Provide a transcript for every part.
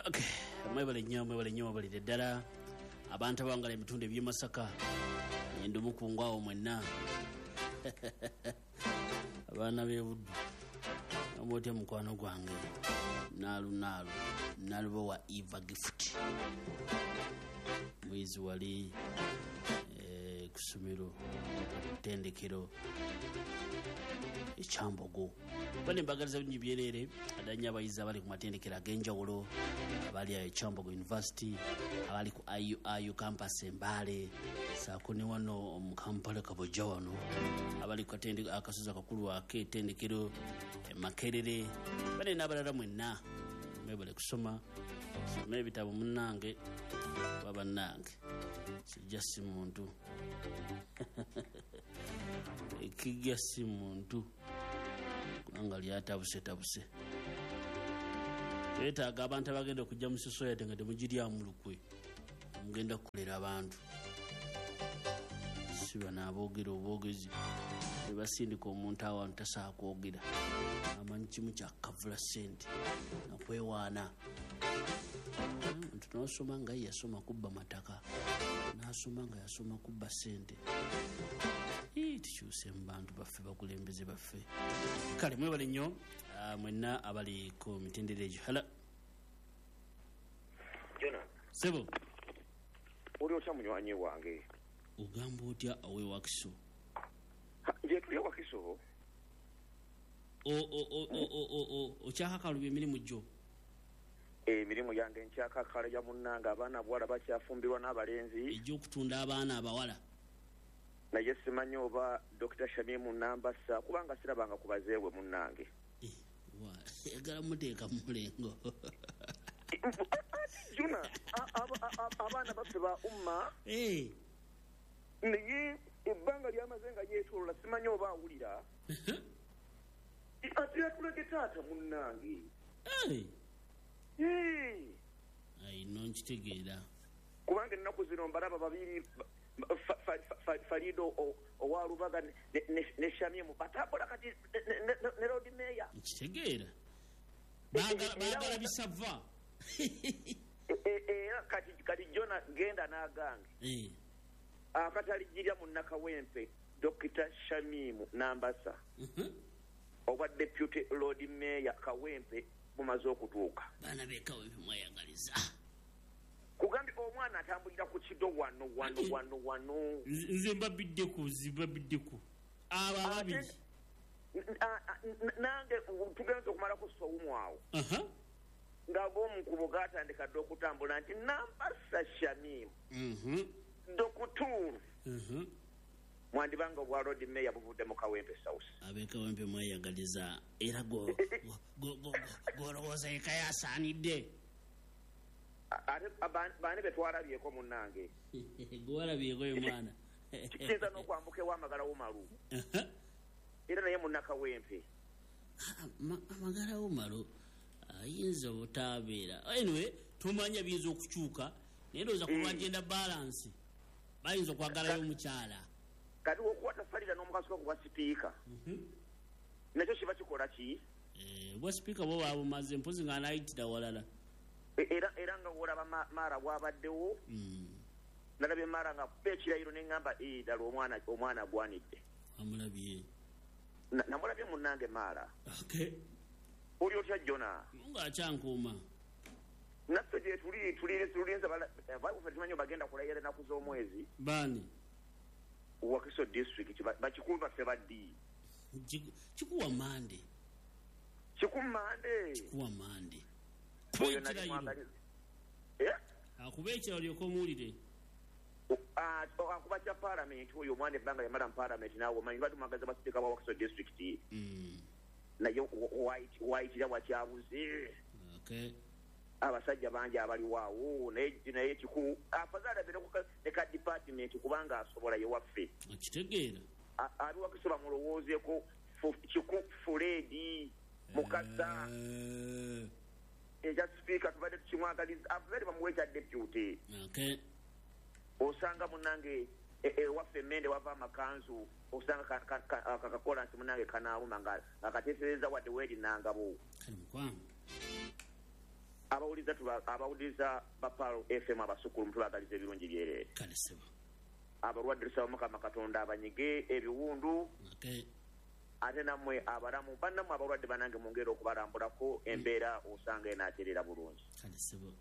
Okay, mwebale nnyo, mwebale nnyo, mwebalire ddala abantu abawangala ebitundu eby'e Masaka, ngenda omukungu awo mwenna abaana b'e Buddu, oba otya mukwano gwange naalu naalu Nalubowa Eva Gift, muyizi wali ku ssomero ttendekero ekyambogo. Bane mbagaliza bingi byereere, addala abayizi abali ku matendekero ag'enjawulo, abali ayo Kyambogo University, abali ku IUIU campus e Mbale, saako ne wano mu Kampala Kabojja wano, abali ku akasozi akakulu ak'ettendekero e Makerere, bane n'abalala mwenna mwebale kusoma, soma ebitabo munnange, oba bannange, kijja si muntu ekijja si muntu kubanga lyatabusetabuse. Twetaaga abantu abagenda okujja mu society nga temugiryamu lukwe, mugenda kukolera abantu, si bano aboogera obwogezi ne basindika omuntu awantu tasobola kwogera, amanyi kimu kyakavula ssente nakwewaana. Omuntu n'osoma nga ye yasoma kubba mataka, n'asoma nga yasoma kubba ssente. Tukyuse mu bantu baffe, bakulembeze baffe. Kale mwebale nnyo mwenna abali ku mitendera egyo. Hala Jona. Sebo. Oli otya munywanyi wange? Ogamba otya awe Wakiso? Nje tuli Wakiso. Okyakakalubya emirimu gyo? Emirimu yange nkyakakalubya munnange, abaana abawala bakyafumbirwa n'abalenzi. Egy'okutunda abaana abawala. Naye simanyi oba Dr. Shamimu Nambasa kubanga sirabanga ku bazeewe munnange. Ayagala muteeka mu mulengo. Juna, abaana baffe ba umma. Naye ebbanga lyamaze nga yeetolola simanyi oba awulira. Ate yatulage taata munnange. Ayi no nkitegeera. Kubanga ennaku zino mbalaba babiri, Farido owa Lubaga ne Shamimu batambula kati ne Lord Mayor. Nkitegeera. Baagala bisava. Era kati Jona genda n'agange. Akatalijirya mu Nakawempe Dr. Shamimu Nambasa owa Deputy Lord Mayor Kawempe bumaze okutuuka. Baana b'e Kawempe mweyagaliza. Kugambye omwana atambulira ku kido wano wano wano wano. Nze mbabiddeko abo ababiri. Nange tugenze okumalako sowumu awo. Ng'ag'omukubo gatandika dda okutambula nti Nambasa Shamimu Dokutuuru mwandibanga obwa Lord Mayor buvudde mu Kawempe South. Ab'e Kawempe mweyagaliza era gw'olowooza eka yasaanidde. Ate baani be twalabyeko munnange? Gwalabyeko ye mwana. Kiyinza n'okwambuka ew'Amagala Umaru. Era naye munnakawempe. Amagala Umaru ayinza obutabeera. Anyway, tumanya biyinza okukyuka, naye ndowooza ku lwa gender balance bayinza okwagalayo omukyala. Kati okukwata Farida n'omukasuka ku bwa sipiika, nakyo kiba kikola ki? Obwa sipiika bwo babumaze, mpozi ng'anaayitira walala. Era nga wolaba Mara bw'abaddewo, nalabye Mara ng'akuba ekirayiro ne ŋŋamba ddala omwana agwanidde. Amulabye. Namulabye munnange Mara. Oli otya Jona? Ng'akyankuuma. Naffe gye tuli tulinze baffe tumanyi bagenda kulayira ennaku z'omwezi. Baani? Wakiso district bakikulu baffe baddi. Kikuwa mande. Kikumande. Kikuwa mande. Akuba ekirayiro olyoke omuwulire. Akuba kya paalamenti oyo omwana ebbanga yamala mu paalamenti naawe omanyi lwaki mwagaza basipiika ba Wakiso district. Naye wayitira wakyabuze. Abasajja bangi abaliwo awo naye kikulu afazaali abeere ne ka department kubanga asobola ye waffe. Okitegeera. Abi Wakiso bamulowoozeeko Kiku Fred Mukasa. Ekya sipiika tubadde tukimwagaliza afazaali bamuwe ekya deputy. Osanga munnange ewaffe Mmende wava amakanzu, osanga kakakolansi munnange kanaawuma nga kateesereza wadde weeri Nangabo. Kale mukwano. Abawuliriza ba Pearl FM abasukulu mutubagaliza ebirungi byereere. Kale ssebo. Abalwadde tusaba Mukama Katonda abanyige ebiwundu. Okay. Ate nammwe abalamu bannammwe abalwadde bannange mwongere okubalambulako embeera osanga enaaterera bulungi. Kale ssebo.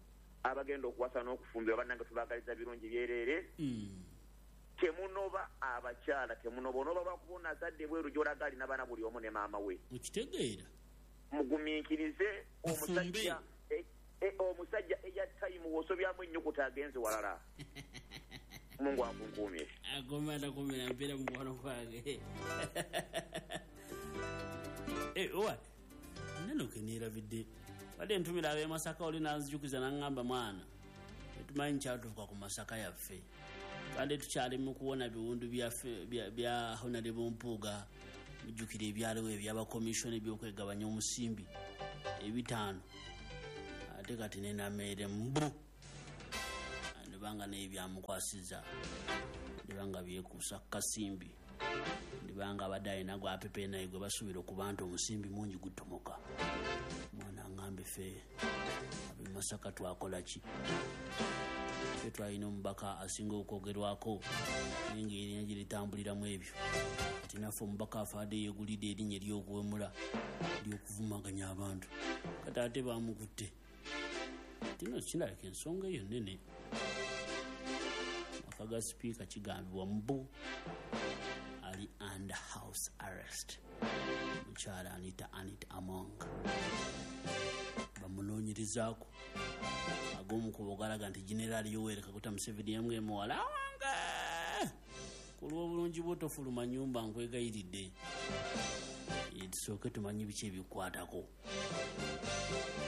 Abagenda okuwasa n'okufumbirwa bannange tubagaliza birungi byereere. Temunoba abakyala, temunoba onoba lwakuba onazadde bweru gy'olaga alina baana buli omu ne maama we. Okitegeera. Mugumiikirize omusajja omusajja eya time w'osobyamu ennyukuta agenze walala. Mungu akunkuumye. Agoma atakumira mpeera mukwano gwange. Owa neno ke neerabidde. Badde ntumira ab'e Masaka oli n'anzijukiza n'aŋŋamba mwana tetumanyi kyatuuka ku Masaka yaffe. Badde tukyali mu kuwona biwundu bya Honorable Mpuuga, mujjukira ebyaliwo ebyabakomishoni ebyokwegabanya omusimbi ebitaano, ate kati nenameere mbu ndibanga naye byamukwasiza, ndibanga byekuusa ku kasimbi, ndibanga abadde alina gwapepe naye gwe basuubira okuba nti omusimbi mungi gutomoka. Mwana aŋŋambe ffe ab'e Masaka twakola ki? Ffe twalina omubaka asinga okwogerwako naye ng'erinnya gye litambuliramu ebyo. Ate naffe omubaka afaadde yeegulidde erinnya ery'okuwemula ery'okuvumaganya abantu, kati ate baamukutte. Kino kirabika ensonga eyo nnene. Maka ga sipiika kigambibwa mbu ali under house arrest. Mukyala Anita Among bamunoonyerizaako. Ag'omukubo galaga nti Generaali Yoweri Kaguta Museveni yamwe muwala wange, ku lw'obulungi bwo tofuluma nnyumba nkwegayiridde, tusooke tumanye biki ebikwatako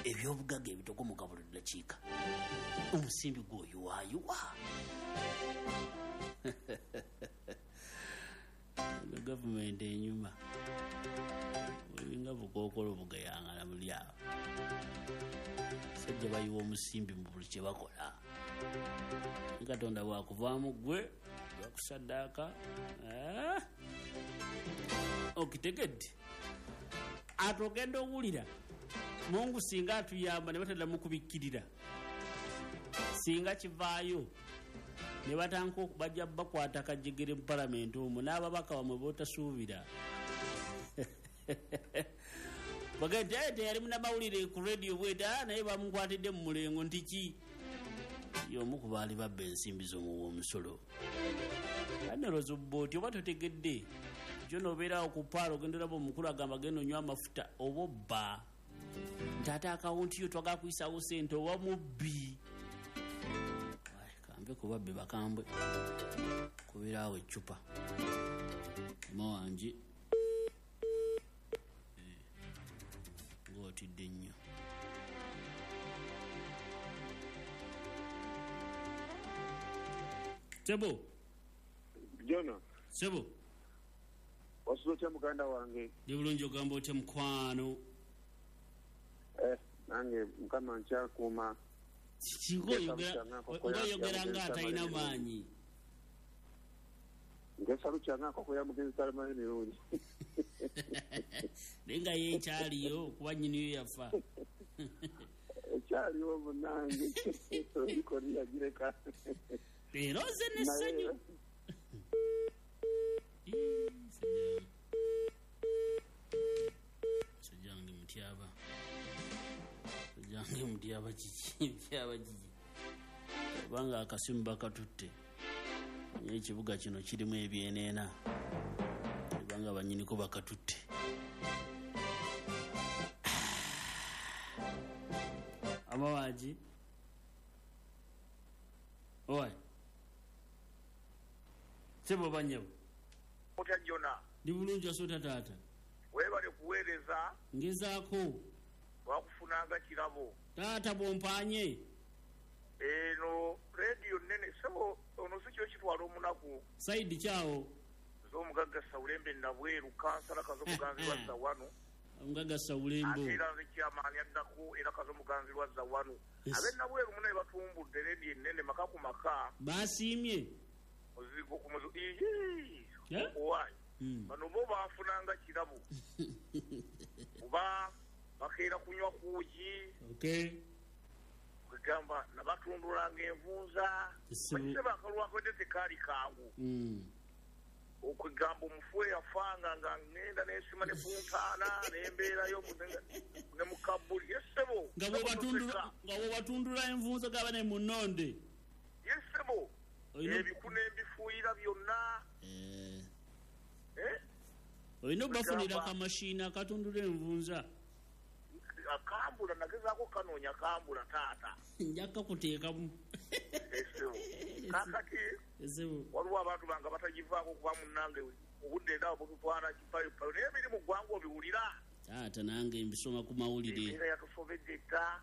ebyobugagga ebitokomoka buli ddakiika. Omusimbi gw'oyiwaayiwa. Eno gavumenti enyuma olinga bukookolo bugayangana buli awo. Sajja bayiwa omusimbi mu buli kye bakola. Katonda bwakuvaamu ggwe bakusaddaaka. Okitegedde? Ate ogenda owulira Mungu singa atuyamba ne bataddamu kubikkirira, singa kivaayo ne batanka bajja bakwata kajegere mu palamenti omwo n'ababaka bamwe b'otasuubira. Bagende teyali munnamawulire ku rediyo bweta naye bamukwatidde mu mulengo nti ki? Y'omu ku baali babba ensimbi z'omuwa omusolo. Anoloza obbooti oba totegedde, kyo n'obeerawo ku paalo ogenda olaba omukulu agamba genda onywa amafuta oba obba. Nti ate akawunti yo twagala kuyisaawo ssente oba mubbi. Kambe ku babbi bakambwe kubeeraawo eccupa. Mama wange ng'otidde nnyo. Sebo. Jona. Sebo. Wasuze otya muganda wange? Ndi bulungi, ogamba otya mukwano? Nange Mukama nkyakuuma. Ng'oyogera ng'atalina maanyi. Ngeesa lukyanga nkoko ya mugenzi Salamani Mirundi. Naye nga ye ekyaliyo kuba nnyiniyo yafa. Ekyaliwo munnange olikoni yagireka. Leero nze n'essanyu. Sajjange mutyaba. Sajjange mutyaba kiki? Mutyaba kiki? Kubanga akasimu bakatutte. Naye ekibuga kino kirimu ebyeneena. Kubanga bannyiniko bakatutte. Amawaji. Oi. Sebo banyabo. Otya Jona. Ndi bulungi asota taata. Weebale kuweereza. Ngezaako. Wakufunanga kirabo. Taata bw'ompaanye. Eno rediyo nnene sebo ono si kyo kitwala omunaku. Saidi kyawo. Z'omugagga Sawulembe Nabweru kansala Kazomuganzi lwa Zawano. Omugagga Sawulembe. Ate era nze kyamaani addako era Kazomuganzi lwa Zawano. Ab'e Nabweru munaye batumbudde rediyo ennene maka ku maka. Baasiimye. Muzigo ku muzigo. Owaayi. Bano bo banfunanga kirabo. Kuba bakeera kunywa kuugi. Okay. Kwegamba nabatundulanga envunza. Bakiseba akalwakodde tekaali kangu. Okwegamba omufu eyafanga nga ngenda nensima ne puntaana nembeerayo ne mu kabbuli. Yessebo. Nga bw'obatundula envunza gaba ne munonde. Yessebo. Ebiku n'embifuuyira byonna. Olina obafunira akamashini akatundula envunza. Akambula nagezaako kanoonya kambula taata. Nja kuteekamu. Kakati waliwo abantu bange batagivaako kuba munnange obudde era bututwala kipayopayo naye ebiri mu ggwanga obiwulira. Taata nange mbisoma ku mawulire. Embeera yatusobedde dda.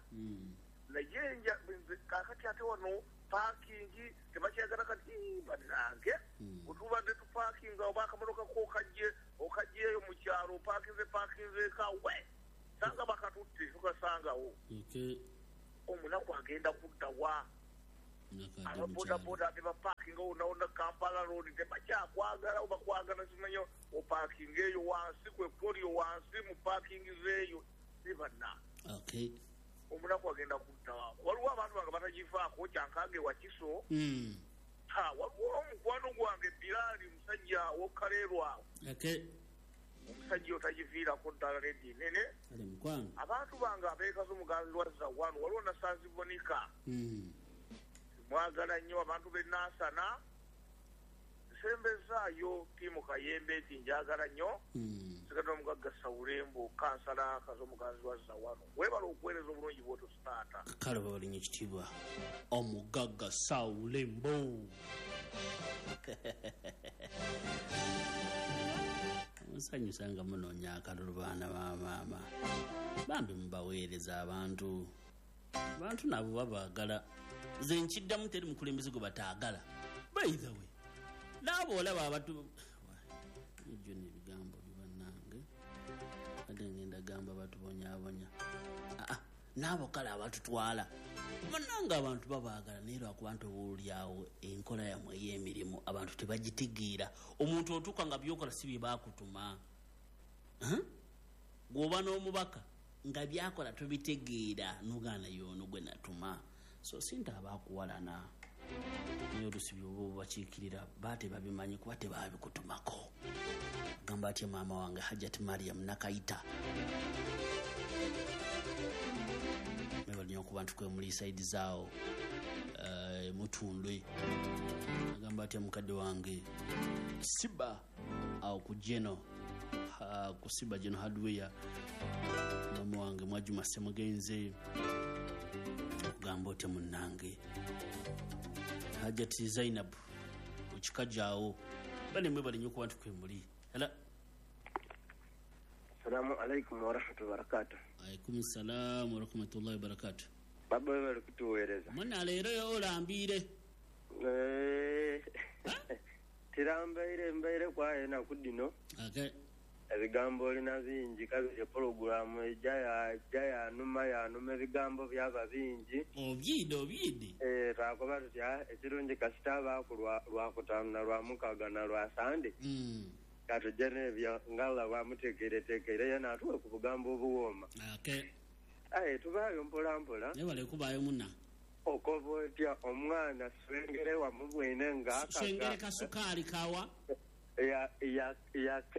Naye kakati ate wano paakingi tebakyagala kati bannange. Bwe tupaakinga oba akamotoka ko okajjeeyo mu kyalo opaakinze eka we. Sanga bakatutte tukasangawo. Omunaku agenda kudda wa. Ababodaboda tebapaakinga wonna Kampala Road tebakyakwagala oba kwagala simanyi opaakinga eyo wansi kwe polio wansi mu paakingi zeeyo sibanna. Omunaku agenda kudda wa. Waliwo abantu bange batagivaako kyankange Wakiso. Waliwo omukwano gwange Bilali musajja w'Okaleerwa awo. Omusajja otagiviirako ddala redi nene. Abantu bange abeekaza omuganzi wa Zawanu waliwo Nasanzi Bonika. Mwagala nnyo abantu b'e Nansana. Nsembezaayo ttiimu Kayembe nti njagala nnyo. Nsigadde omugagga Sawulembo kansala Kazo omuganzi wa Zawanu. Weebale okuweereza obulungi bw'otyo taata. Kale babalinnya ekitiibwa omugagga Sawulembo. Nsanyusa nga munoonya akalulu baana ba maama. Bambi mubaweereza abantu. Abantu nabo babaagala. Nze nkiddamu teri mukulembeze gwe bataagala. By the way, naabo olaba abantu ejjo n'ebigambo bibannange. Ate ngenda gamba batubonyaabonya. Naabo kale abatutwala. Munnange abantu babaagala naye lwakuba nti oboolyawo enkola yammwe ey'emirimu abantu tebagitegeera. Omuntu otuuka nga by'okola si bye baakutuma. Gw'oba n'omubaka nga by'akola tobitegeera n'ogaana y'ono gwe natuma. So sinta abakuwalana. Naye oluusi by'oba obakiikirira batebabimanyi kuba tebaabikutumako. Gamba atya maama wange Hajjat Mariam Nakayita. Mwebale okuba nti kwe muli saidi zaawo Mutundwe. Agamba atya mukadde wange Siba awo ku Geno, ku Siba Geno Hardware. Mama wange Mwajuma Semugenze. Ogamba otya munnange Hajjat Zainab okikajaawo. Bale mwebale nnyo okuba nti kwe muli. Hello. Assalamu alaikum wa rahmatullahi wa barakatuh. Alaikum salam wa rahmatullahi wa barakatuh. Baba wewe kutuweereza. Mwana leero olambiire. Tirambaire mbaire kwaye na kudino. Ebigambo olina bingi kabiri pologulamu ejja yanuma ebigambo byaba bingi. Obyide. Twakoba tutya ekirungi kasita abaaku lwakutaano na lwamukaaga na lwa Sande. Katujje n'ebyo ng'Allah bw'amuteekereteekere ye n'atuwe ku bugambo obuwooma. Aye tubaayo mpola mpola. Naye kubaayo munna. Okoba otya omwana Swengere wamubwine ng'akaga. Swengere kasukaali kawa.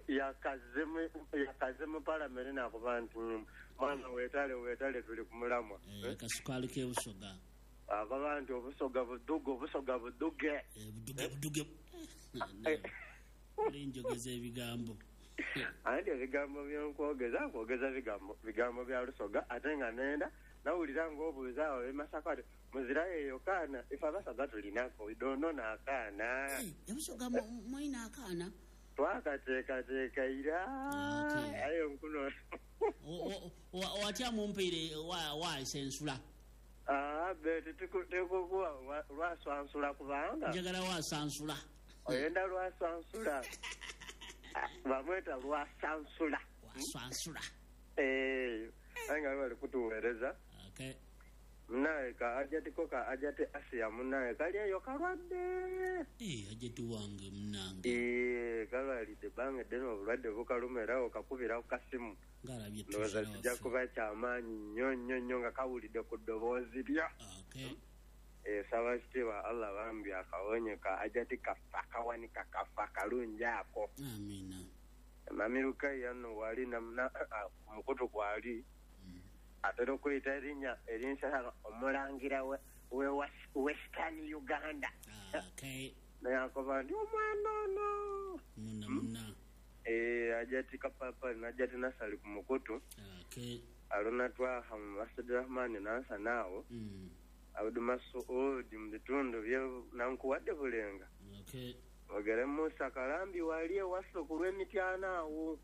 Yakaze mu palamenti n'akuba nti mwana weetale tuli ku mulamwa. Kasukaali k'ebusoga. Akoba nti obusoga buduge. Buduge. Olinjogeza ebigambo. Anti ebigambo byenkwogeza nkwogeza bigambo bya Lusoga ate nga nenda nawulira ng'obuuza awo Masaka ati muzirayo eyo kaana ife Abasoga tulinako dono n'akaana. Ebusoga mulina akaana? Twakateekateeka ira aye nkuno. Watya mumpeire wansensula? Be tekukuwa lwaswansula kubanga. Njagala wasansula. Oyenda lwasansula. Bamweta lwasansula. Wasansula. Aye nga bali kutuweereza. Naye Ka ajati ko ka ajati Asiya munnaye kali eyo kalwadde. Ajati wange munnange. Kalwalidde ebbanga eddene obulwadde bukaluma era okakubira ku kasimu. Ndowooza kijja kuba kyamaanyi nnyo nnyo nnyo nga kawulidde ku ddoboozi lya. Saba kitiibwa Allah bambi akawonye ka ajati kaffe akawanika kaffe akalungi ako. Amiina. Mami Lukaya nno wali ku mukutu kwali. Atera okuyita erinnya erinsala omulangira we Western Uganda. Naye akoba nti omwana ono. Muna. Ajati kapapa najati nasali ku mukutu. Aluna twaha mu Masjid Rahman nansa naawo. Abdu Masuud mu bitundu bye nankuwadde Bulenga. Ogere Musa Kalambi wali ewaffe ku lw'Emityana awo.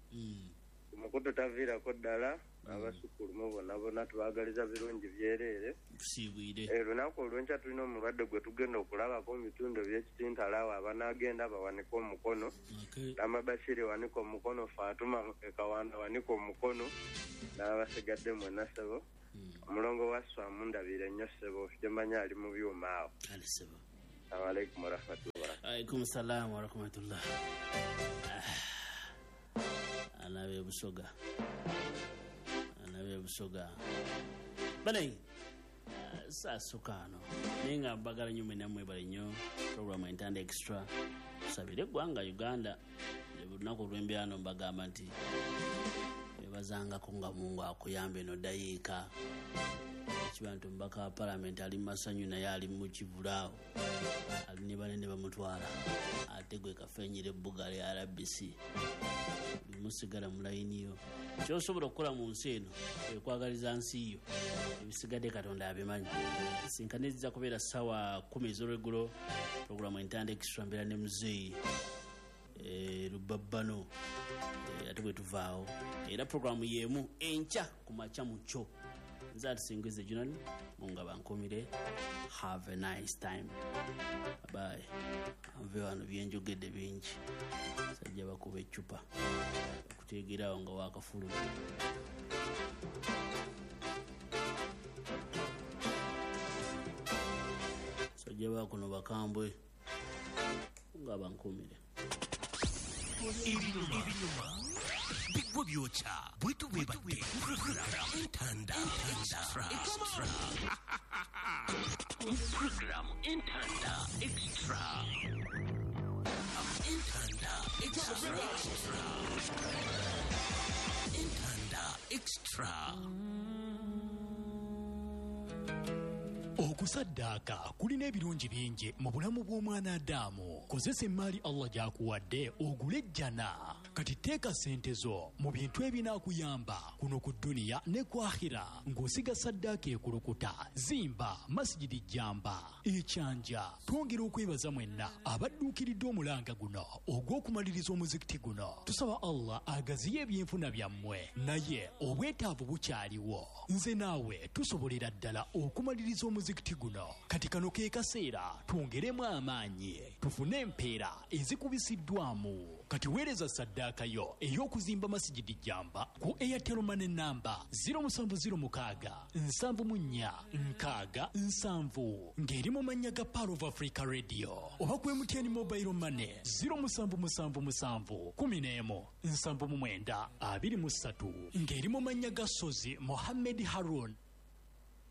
Omukutu taviirako ddala. Abasukulumu bonna bonna tubagaliza birungi byereere. Lunaku olw'enkya tulina omulwadde gwe tugenda okulabako mu bitundu by'Ekitintala awo abanaagenda bawanike omukono. Rama Bashiri wanika omukono, Fatuma Kawanda wanika omukono n'abasigadde mwenna ssebo. Omulongo wa Swamu ndabire nnyo ssebo, gyemanyi ali mu byuma awo. Assalamu alaikum warahmatullahi. Alaikum salaam warahmatullah. Alabe Busoga. Busoga bale saasukano naye nga mbagala nnyo mwenna mwebale nnyo programu Entanda Extra. Tusabire eggwanga Uganda olunaku olw'embyano mbagamba nti webazangako nga Mungu akuyamba eno dayiika kiba nti omubaka wa palamenti ali mu masanyu naye ali mu kivulaawo ali ne banene bamutwala ate gwe kafenyera ebbuga lya RBC musigala mu layini yo. Kyosobola okukola mu nsi eno ekwagaliza nsi yo, ebisigadde Katonda abimanyi. Sinkane zijja kubeera ssaawa 10 ez'olweggulo, programu Entanda Extra mbeera ne muzeeyi Lubabbano ate bwe tuvaawo era programu y'emu enkya ku makya mu kyo. Nze atusingize Junani, Mungu abankumire. Have a nice time. Bye. Anve wano byenjogedde bingi. Sajja bakuba eccupa kuteegerawo nga wakafuluma. Sajja bakuno bakambwe nga bankumire. Ebinyuma bigwa byokya bwetu bwebadde Entanda Extra. Program Entanda Extra. Entanda Extra. Entanda Extra. Okusaddaaka kulina ebirungi bingi mu bulamu bw'omwana Adamu. Kozesa emmaali Allah gy'akuwadde ogule ejjana. Kati teeka ssente zo mu bintu ebinaakuyamba kuno ku dduniya ne ku akhira ng'osiga saddaaka ekulukuta, zimba masijidi jjamba ekyanja. Twongera okwebaza mwenna abadduukiridde omulanga guno ogw'okumaliriza omuzikiti guno. Tusaba Allah agaziye ebyenfuna byammwe, naye obwetaavu bukyaliwo. Nze naawe tusobolera ddala okumaliriza omuzikiti guno. Kati kano ke kaseera twongeremu amaanyi tufune empeera ezikubisiddwamu. Kati weereza saddaaka yo ey'okuzimba masijidi jjamba ku Airtel Money namba 0706 74 67 ng'eri mu mannya ga Pearl of Africa Radio oba ku MTN Mobile Money 0777 11 79 23 ng'eri mu mannya ga Sozi Mohammed Harun.